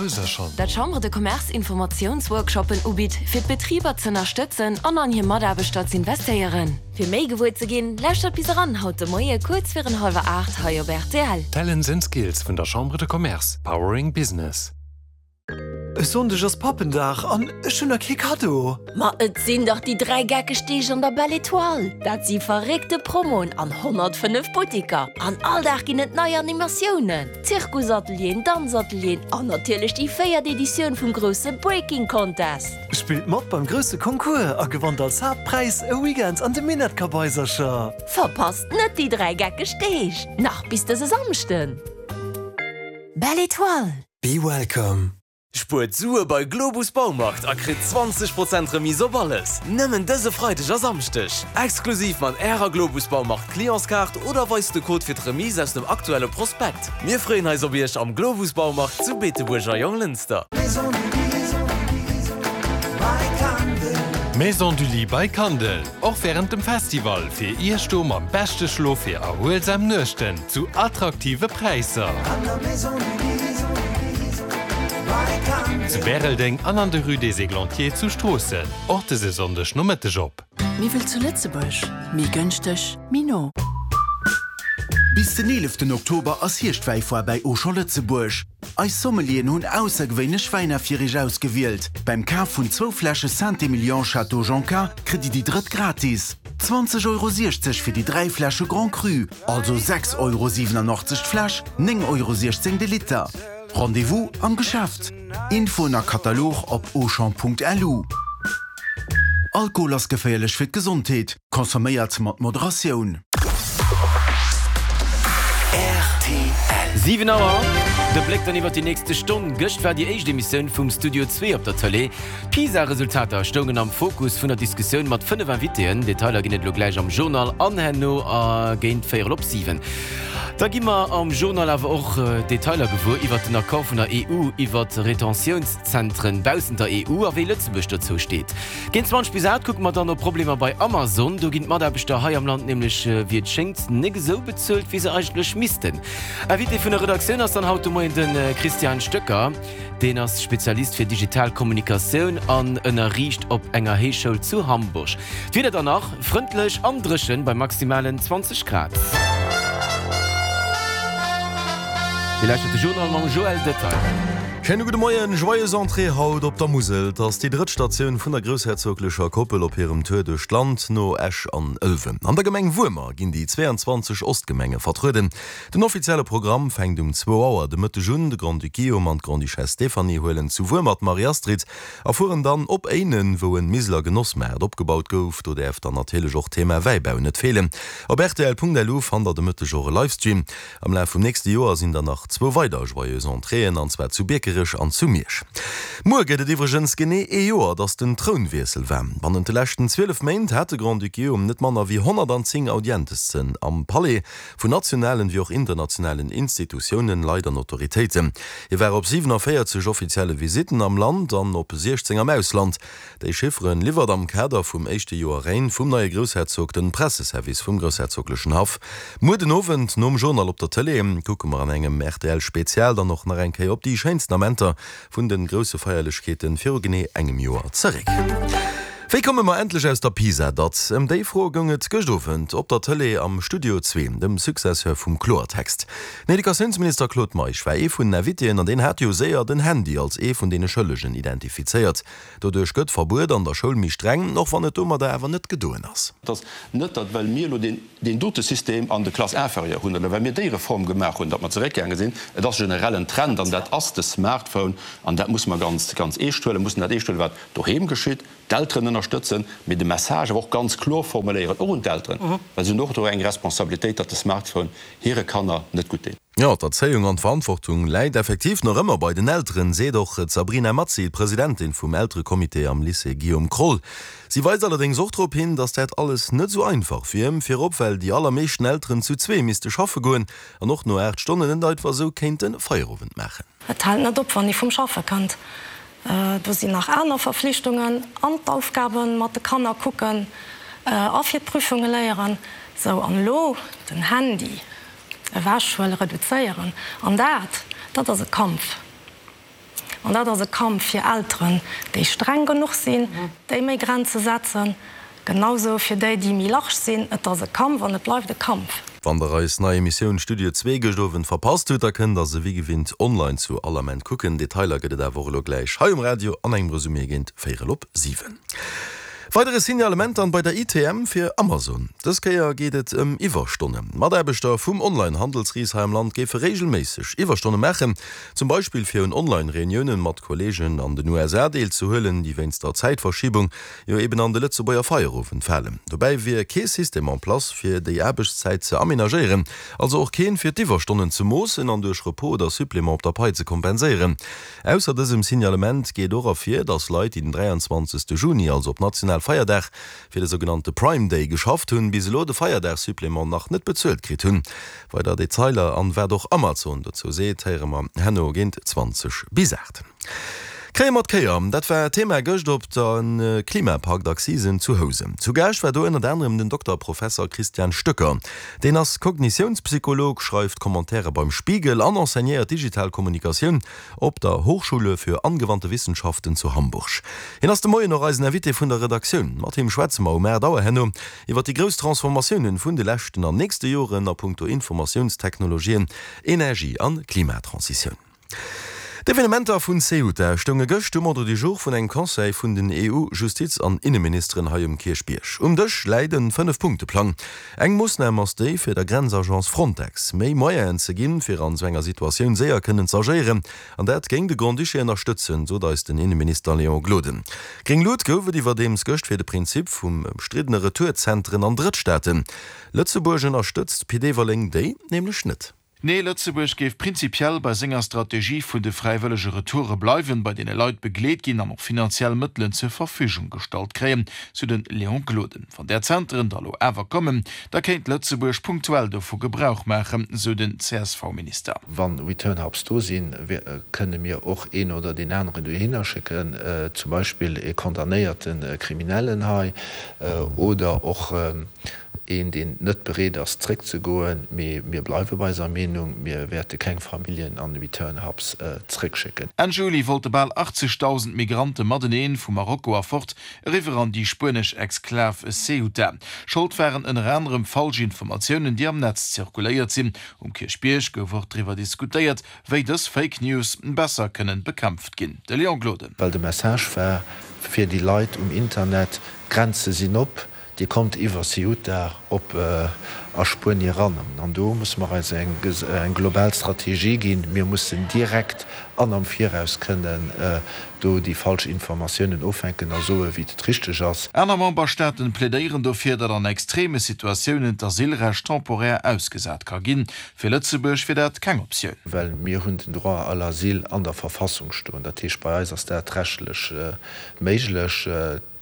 Kabaisercher. Dat d'Chambre de Commerce Informatiounsworkshoppen ubitt, fir d'Betriber z'ënnerstëtzen an an hir Mataarbechter z'investéieren. Fir méi gewuer ze ginn, lauschtert bis eran haut de Moie kuerz virun hallwer 8 hei op rtl. Talents and Skills vun der Chambre de Commerce, powering business. E Sonndeg ass Pappendag an ech hunn nach kee Kaddo. Ma et sinn dach déi 3 geckeg Deeg an der Belle Etoile! Dat si verréckte Promoen an 105 Buttiker. An all Dag ginn et nei Animatiounen, Zirkusatelieren, Danzatelieren an natierlech déi véiert Editioun vum grousse Breaking Contest. Spillt mat beim grousse Concours a gewannt als Haaptpräis e Weekend an de Minettkabaisercher! Verpasst net déi 3 geckeg Deeg, nach bis dëse Samschden! Belle Etoile! Be welcome. Spuert Sue bei Globus Baumarkt a kritt 20 Prozent Remise op alles! Nëmmen dëse Freideg a Samschdeg! Exklusiv mat Ärer Globus Baumarkt Clientskaart oder weist de Code fir d'Remise aus dem aktuelle Prospekt. Mir freeën eis op Iech am Globus Baumarkt zu Beetebuerg a Jonglënster. Maison du Lit by Kandel, och wärend dem Festival fir Iech do mam beschte Schlof fir erhuelsam Nuechten zu attraktive Präisser. Zu Bäreldeng an an der Rue des Églantiers zu Stroossen, och dëse Sonndeg Nomëtteg op. Méi wëll zu Lëtzebuerg, méi gënschteg, méi no. Bis den 11 Oktober ass Hierschtwäifoire bäi Auchan Lëtzebuerg. Eis Sommelieren hunn aussergewéinlech Wäiner fir iech ausgewielt. Beim Kaf vun zwou Fläsche Saint-Emilion Château Jonca kritt dir déi drëtt gratis. 20,60 Euro fir déi 3 Fläsche Grand Cru, also 6,87 Euro d'Fläsch, 9,16 Euro de Liter. Rendez-vous am Geschäft. Infoen a Katalog op auchan.lu. Alkohol ass geféierlech fir d'Gesondheet. Consomméiert mat Moderatioun. Rtl. 7 Auer, de Bléck dann iwwer déi nächste Stonn. Gëscht war déi éischt Emissioun vum Studio Zwee op der Tëlee. D'PISA-Resultater stoungen am Fokus vun der Diskussioun mat 5 Invitéen. Detailer ginn et elo gläich am Journal an herno géint véierel op 7. Da gi mer am Journal awer och Detailer gewuer iwwert den Accord vun der EU iwwert Retentiounszentren baussent der EU a wéi Lëtzebuerg dozou steet. Géint 20 bis 8 kucke mer dann op Problemer bei Amazon. Do ginn d'Mataarbechter hei am Land nämlech, wéi et schéngt, nek esou bezuelt, wéi se eigentlech missten. Invité vun der Redaktioun ass dann haut de Moien de Christian Stöcker. Deen ass Spezialist fir digital Kommunikatioun an ënnerriicht op enger Héichschoul zu Hamburg. D'Wieder dann nach, frëndlech an dréchen bei maximalen 20 Grad. Dir lauschtert de Journal mam Joël Detaille. Schéine gudde Moien, Joyeuse Entrée haut op der Musel. Et ass déi drëtt Statioun vun der groussherzoglecher Koppel op hirem Tour duerch d'Land, no Esch an Ëlwen. An der Gemeng Wuermer ginn déi 22 Ostgemenge vertrueden. Den offizielle Programm fänkt um zwou Auer de Mëtteg un. De Grand-Duc Guillaume an d'Grande-Duchesse Stéphanie huelen zu Wuermer d'Marie-Astrid a fueren dann op Éinen, wou en Miseler Genossmaart opgebaut gouf. Do däerf dann natierlech och d'Thema Wäibau net feelen. Op rtl.lu fannt der de Mëtteg och e Livestream. Am Laf vum nächste Joer sinn der nach zwou weider Joyeuse Entréeën, an zwar zu Biekerech an zu Miersch. Muer gëtt et iwwregens genee ee Joer, datt den Trounwiessel war. Bannent de leschten 12 Méint hat de Grand-Duc Guillaume net manner wéi 110 Audientessen am Palais, vun nationalen wéi och internationalen Institutiounen, Leit an Autoritéiten. Hie war op 47 offizielle Visitten am Land an op 16 am Ausland. Déi Chifferen liwwert am Kader vum éischte Joer Règne vum neie Groussherzog den Presseservice vum groussherzoglechen Haff. Muer den Owend nom Journal op der Tëlee kucke mer an engem rtl Spezial dann och nach eng Kéier op déi schéinsten Amenter vun den grousse Feierlechkeeten viru genee engem Joer zeréck. Wéi komme mer endlech aus der PISA-Datt? Ëm déi Fro goung et gëscht Owend op der Tëlee am Studio Zwee, dem Successeur vum Kloertext. Den Educatiounsminister Claude Meisch war ee vun den Invitéen an deen hat jo séier den Handy als ee vun deene Schëllegen identifizéiert. Doduerch gëtt d'Verbuet an der Schoul méi streng, och wann et domadder awer net gedoen ass. Et ass net, datt well mir elo deen, deen dote System an de Classes inférieures hunn oder well mir déi Reform gemaach hunn, datt mer zeréckgaange sinn. Et ass generell en Trend an dat ass de Smartphone an dat musse mer ganz, ganz eescht huelen, mussen dat eescht huelen, wat doheem geschitt, d'Elteren ënnerstëtzen, mee de Message awer och ganz kloer formuléieren, och un d'Elteren, well si hunn och do eng Responsabilitéit, datt de Smartphone hire Kanner net gutt deet. Jo, d'Erzéiung an d'Verantwortung läit effektiv nach ëmmer bei den Elteren, seet och d'Sabrina Mazzi, d'Presidentin vum Elterecomité am Lycée Guillaume Kroll. Si weist allerdéngs och drop hin, datt dat alles net esou einfach wier, virop well déi allermeeschten Elteren zu zwee misste schaffe goen an och no 8 Stonnen net einfach esou kéinte Feierowend maachen. Et hält net op, wann ee vum Schaffe kënnt. Do sinn nach aner Verflichtungen an d'Aufgabe mat de Kanner kucken a fir d'Prüfunge léieren. Sou, an elo den Handy. Ewechhuelen, reduzéieren. An dat, dat ass e Kampf. An dat ass e Kampf fir Elteren, déi streng genuch sinn, déi méi Grenze setzen, genausou fir déi, déi méi large sinn. Et ass e Kampf an et bleift e Kampf. Wann der eis nei Emissioun Studio zwee gëscht Owend verpasst hutt, da kënnt der se wéi gewinnt online zu all Ament kucken. Detailer gëtt et awer och elo gläich hei um Radio an engem Resumé géint véierel op 7. Weidere Signalement dann bei der ITM fir Amazon. Dës Kéier geet et ëm Iwwerstonnen. Mataarbechter vum Online-Handelsris hei am Land géife reegelméisseg Iwwerstonne maachen, zum Beispill fir un Online-Reuniounen mat Kolleegen an den USA deelzehuelen, déi wéinst der Zäitverschiebung jo eben an de Lëtzebuerger Feierowend falen. Dobäi wier kee System en place fir déi Aarbechtszäit ze amenagéieren, also och keen fir d'Iwwerstonnen ze moossen an duerch Repos oder Supplément op der Pai ze kompenséieren. Ausser dësem Signalement geet och ervir, datt Leit, déi den 23. Juni, also op Nationalfeierdag, fir de sougenannte Prime Day geschafft hunn, bis elo de Feierdagssupplément nach net bezuelt kritt hunn. Weider Detailer an wat och Amazon dozou seet, héiere mer herno géint 20 bis 8. Kréie mer d'Kéier? Dat war Thema gëscht op der Klimapakt-Accisen zu Housen. Zu Gaascht war do ënnert anerem den Dokter Professer Christian Stöcker. Deen ass Kognitiounspsycholog, schreift Commentaire beim Spiegel an enseignéiert digital Kommunikatioun op der Hochschule für angewandte Wissenschaften zu Hamburg. Hien ass de Moien och eisen Invité vun der Redaktioun. Mat him schwätze mer um 8 Auer herno iwwer déi grouss Transformatiounen vun de leschten an nächste Joren a punkto Informatiounstechnologien, Energie an Klimatransitioun. D'Evenementer vun Ceuta stounge gëscht um Ordre du jour vun engem Conseil vun den EU-Justiz an Inneministeren hei um Kierchbierg. Um Dësch läit en Fënnef-Punkte-Plang. Eng Moossnam ass déi, fir der Grenzagence Frontex méi Moyenen ze ginn, fir an esou enger Situatioun séier kënnen z'agéieren. An dat géing de Grand-Duché ënnerstëtzen, sot eis den Inneminister Léon Gloden. Gréng Lut gouf et iwwerdeems gëscht fir de Prinzip vum ëmstriddene Retourzentren an Drëttstaaten. Lëtzebuerg ënnerstëtzt Pit Everling déi nämlech net. Nee, Lëtzebuerg géif prinzipiell bei senger Strategie vun de fräiwëllege Retoure bleiwen, bei deene Leit begleet ginn an och finanziell Mëttelen zur Verfügung gestallt kréien, sou de Léon Gloden. Wann där Zenteren da lo awer kommen, da kéint Lëtzebuerg punktuell dovu Gebrauch maachen, sou den CSV-Minister. Wa Return Hubs do sinn, kënne mir och een oder deen aneren dohinner schécken, zum Beispill ee condamnéierte Kriminellen hei oder och Een, deen net bereet ass zréckzegoen. Mee mir bleiwe bei eiser Meenung, Mir wäerte keng Familljen an Return Hubs zréckschécken. Enn Juli wollte bal 80.000 Migrante mateneen vu Marokko erfort eriwwer an déi spuenesch Exklav Ceuta. Schold waren ënner anerem falsch Informatiounen, déi am Netz zirkuléiert sinn. Um Kierchbierg gouf och driwwer diskutéiert, wéi dës Fake News besser kënnen bekämpft ginn. De Léon Gloden. Well de Message war fir déi Leit um Internet, D'Grenze sinn op, Dir kommt iwwer Ceuta op a Spuenie eran. An do musse mer eis eng global Strategie ginn. Mir mussen direkt an am Viraus kënnen do déi falsch Informatiounen offänken a soen, wéi et richteg ass. Aner Memberstaaten plädéieren dofir, datt an extreme Situatiounen d'Asylrecht temporär ausgesat ka ginn. Fir Lëtzebuerg wier dat keng Optioun. Well mir hunn den Droit à l'asile an der Verfassung stoen. Dat heescht, bei eis ass dat rechtlech méiglech.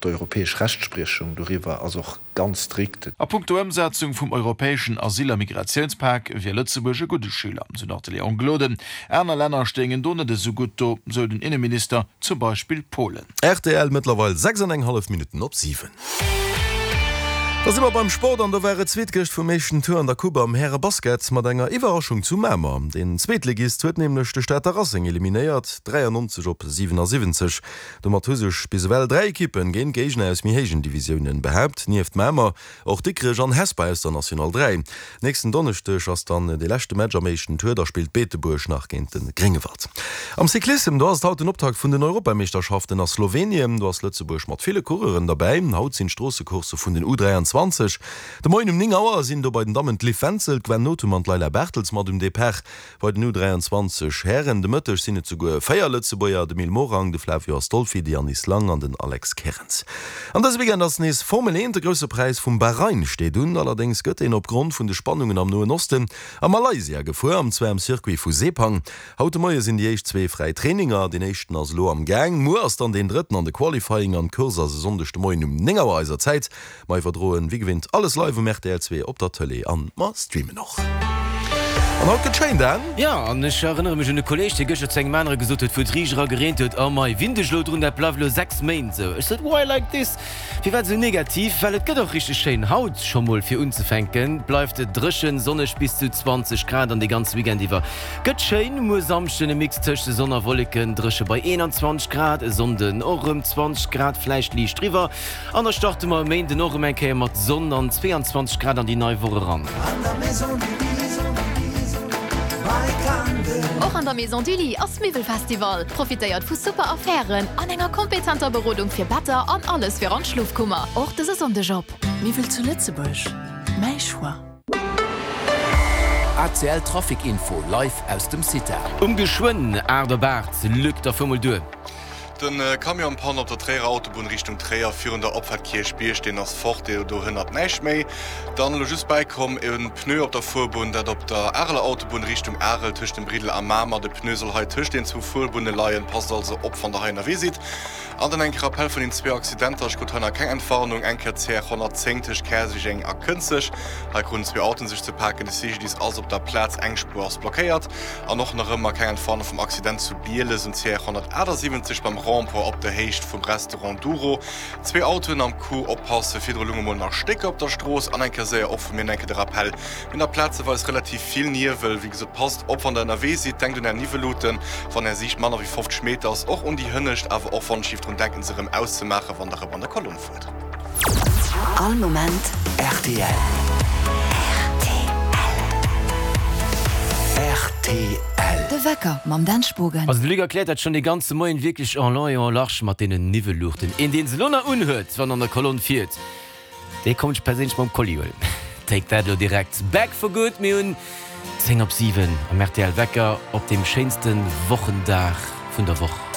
D'europäesch Rechtspriechung doriwwer ass och ganz strikt. A punkto Ëmsetzung vum europäeschen Asyl a Migratiounspak wier Lëtzebuerg e gudde Schüler, sou nach de Léon Gloden. Aner Länner stéingen do net esou gutt do, sou den Inneminister, zum Beispill Polen. Rtl, Mëttlerweil 6 an eng hallef Minutten op 7. Da si mer beim Sport an do war et zweet gëscht vum éischten Tour an der Coupe am Härebasket mat enger Iwwerraschung zu Mamer. Den Zweetligist huet nämlech de Stater Racing eliminéiert, 93 op 77. Domat hu sech bis ewell 3 Ekippen géint Géigner aus méi héijen Divisiounen behaapt, nieft Mamer och Dikrech an Hesper aus der National 3. Nächsten Donneschdeg ass dann dee leschte Match am éischten Tour, da spillt Beetebuerg nach géint de Gréngewald. Am Cyclissem, do ass et haut den Optakt vun den Europameeschterschaften a Slowenien. Do ass Lëtzebuerg mat ville Coureuren derbäi. Haut sinn d'Stroossecoursse vun den U23. De Moien um 9 Auer sinn do bei den Dammen d'Liv Wenzel, d'Gwen Nothum an d'Leila Bartels mat um Depart. Bei den U23 Hären de Mëtteg sinn et souguer 4 Lëtzebuerger, de Mil Morang, de Flavio Astolfi, de Yannis Lang an den Alex Kerens. An dëse Weekend ass nees Formel 1, de Grousse Präis vum Bahrain steet un. Allerdéngs gëtt deen opgrond vun de Spannungen am Noen Osten a Malaysia gefuer, an zwar am Circuit vu Sepang. Haut de Moie sinn déi éischt zwee fräi Traininger, deen éischten ass elo am Gaang, muer ass dann deen drëtten an de Qualifying an d'Course ass e Sonndeg de Moien um 9 Auer eiser Zäit. Mer iwwerdroen wéi gewinnt alles live um rtl 2 op der Tëlee an mer streamen och. An haut gëtt schéin, Dan. Jo, an ech erënnere mech un e Kolleeg, dee gëschter zu engem anere gesot huet, wou et riicht era gereent huet, Oh mei, winn dech elo drun, dat bleift elo 6 Méint esou. Ech sot, Why like this? Firwat esou negativ? Well et gëtt och richteg schéin. Haut scho mol fir unzefänken, bleift et dréchen, sonneg bis zu 20 Grad an de ganze Weekend iwwer gëtt schéin. Muer Samschden e Mix tëscht Sonn a Wolleken, dréche bei 21 Grad, e Sonnden och erëm 20 Grad, vläicht liicht driwwer. An da starte mer e Méinden och erëm eng Kéier mat Sonn an 22 Grad an déi nei Woch eran. Och an der Maison du Lit ass Miwwelfestival. Profitéiert vu super Affären an enger kompetenter Berodung fir Better an alles fir an d'Schlofkummer. Och dëse Sonndeg op. Miwwel zu Lëtzebuerg, mäi Choix. ACL Trafic Info live aus dem CITA. Um geschwënn 8 op 8, Luc, da fuer mol duer. Den Camion Panne op der Tréierer Autobunn Richtung Tréier virun der Opfahrt Kierchbierg, deen ass fort, do hënnert näischt méi. Dann elo just bäikomm en Pneu op der Fuerbunn, dat op der Areler Autobunn Richtung Arel tëscht dem Briddel a Mamer. De Pneu soll hei tëscht den zwou Fuerbunne leien, passt also op wann der hei ënnerwee sidd. An dann eng Kéier Rappel vun den zwee Accidenter, ech krut hei nach keng Entwarnung, eng Kéier CR 110 tëscht Käerjeng a Kënzeg, hei kruten zwee Autoen sech ze paken, de CGDIS ass op der Plaz, eng Spuer ass blockéiert. An och nach ëmmer keng Entwarnung vum Accident zu Bieles um CR 178 beim Rond-point op der Héicht vum Restaurant Douro. Zwee Autoen am Coup, oppassen, virdru lunge mol nach Stécker op der Strooss. An eng Kéier séier och vu mir enke de Rappell, mir hunn nach plazeweis relativ vill Niewel. Wéi gesot, passt op wann der ënnerwee sidd, denkt un är Niwweluten, wann är Siicht manner wéi 50 Meter ass, och un déi hënnescht, awer och wann ech géif drun denken se erëm auszemaachen, wann der erëm an der Kolonn fuert. All Moment rtl. Rtl. De Wecker mam Dan Spogen. Also de Luc erkläert dat schonn dee ganze Moien wierklech en long et en large mat deenen Niwwelluuchten. Een deen se lo nach unhuet wann an der Kolonn fiert, dee kommt ech perséinlech mam Kolli huelen. Take that lo direkt. Back for good. Mir hunn 10 op 7 am rtl Wecker op deem schéinste Wochendag vun der Woch.